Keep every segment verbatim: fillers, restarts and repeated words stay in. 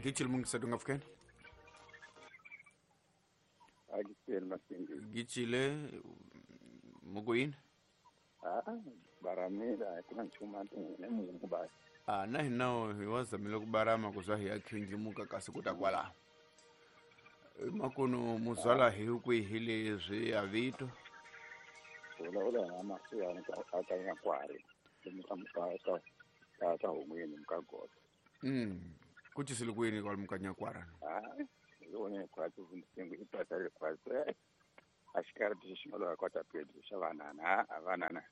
Gichil mungisatu ngafukeni. Agisel Masingi. Gichile muguin. Ah, baramira kuna chuma ne mungu basi. Ah, na hinao hiwazamile kubarama kuzwa hiyakhindlimuka kasi kutakwala. Makono muzala hiukwihile zwi avito. Ola ola amasuya akanya kwari. Muka ka ka ka humweni mukagoda. Mm. Kuchisile kwini kwa mukanya kwara. Ah, yone kwa tuvundisengu ipatale kwa ashikara tishimalo kwa tapedi shavanana avanana.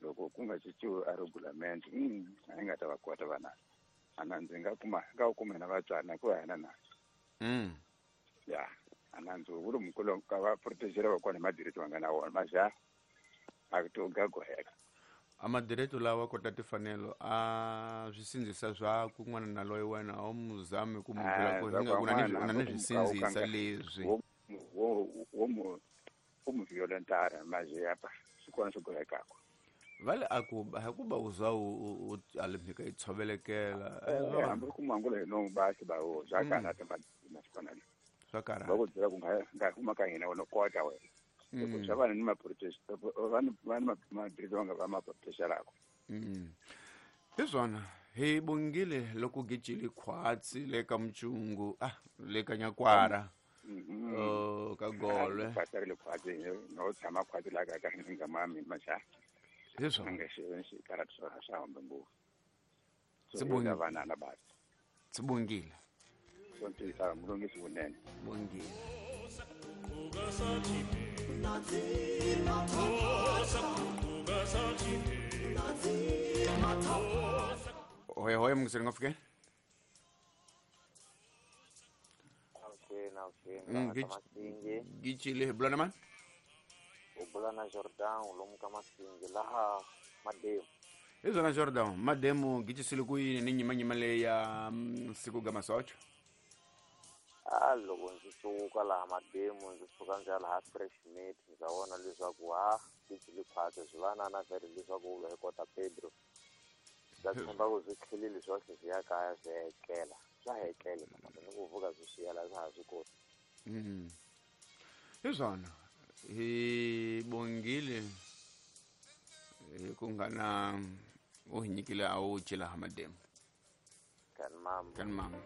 Loko kunga chichu arugulament mm ainga tabakwata bana. Ananze ngakuma ngakuma nabatsana kwa na. Mm. Ya, ananzo uri mukolo ka protegera bakona madireto bangana wona maja akutoga goheka. Amadireto lawa kota tifanelo a zwisinzisa zwa kun'wana na loyi wena o muzame ku mubula ku hinga kuna ni una ni zwisinzisa leswi wo wo wo mu violentara maje apa sikona swigohekako. Vale akuba hakuba uzwa u alimhika itshovelekela hambi ku mangula no basi ba o zakana ta masikona swakara ba ku byela ku nga nga huma ka hina wona kota wena loko swa vanhu ni ma-protest vanhu vanhu ma-direto va nga va ma-protestelako. Mm. Hi swona hi bongile loko gijile khwatsi le ka mchungu ah le ka nyakwara oh ka golwe khwatsi le khwatsi no tshama khwatsi la ka ka nga mami macha hi swona nga xi xi karata swa swa hambe ngopfu Sibongile vanana basi sibongile sontisa mulungisi vunene bongile. Hoi hoi mungiseri ngafike. Mm, Gichile bulana man? Ubulana Jordan ulomuka Masingi laha Mademu. Izona Jordan, Mademu gichisile kuyini ni nyima nyima le ya siku ga masocho. Ah, loko ndzi suka laha Mademu ndzi suka ndzi ya laha Fresh Meat ndza vona leswaku ha gicile khwatsi swi vanana vhele leswaku u hi kota Pedro. Ndza tshemba ku swi tlhelile swohle swi ya kaya swi etlela swa hetlela kambe ni ku vuka swi swiyela swa ha swi koti. Mm. Hi swona hi bongile hi ku nga na u hi nyikile a wu ci laha Mademu. Kan mama. Kan mama.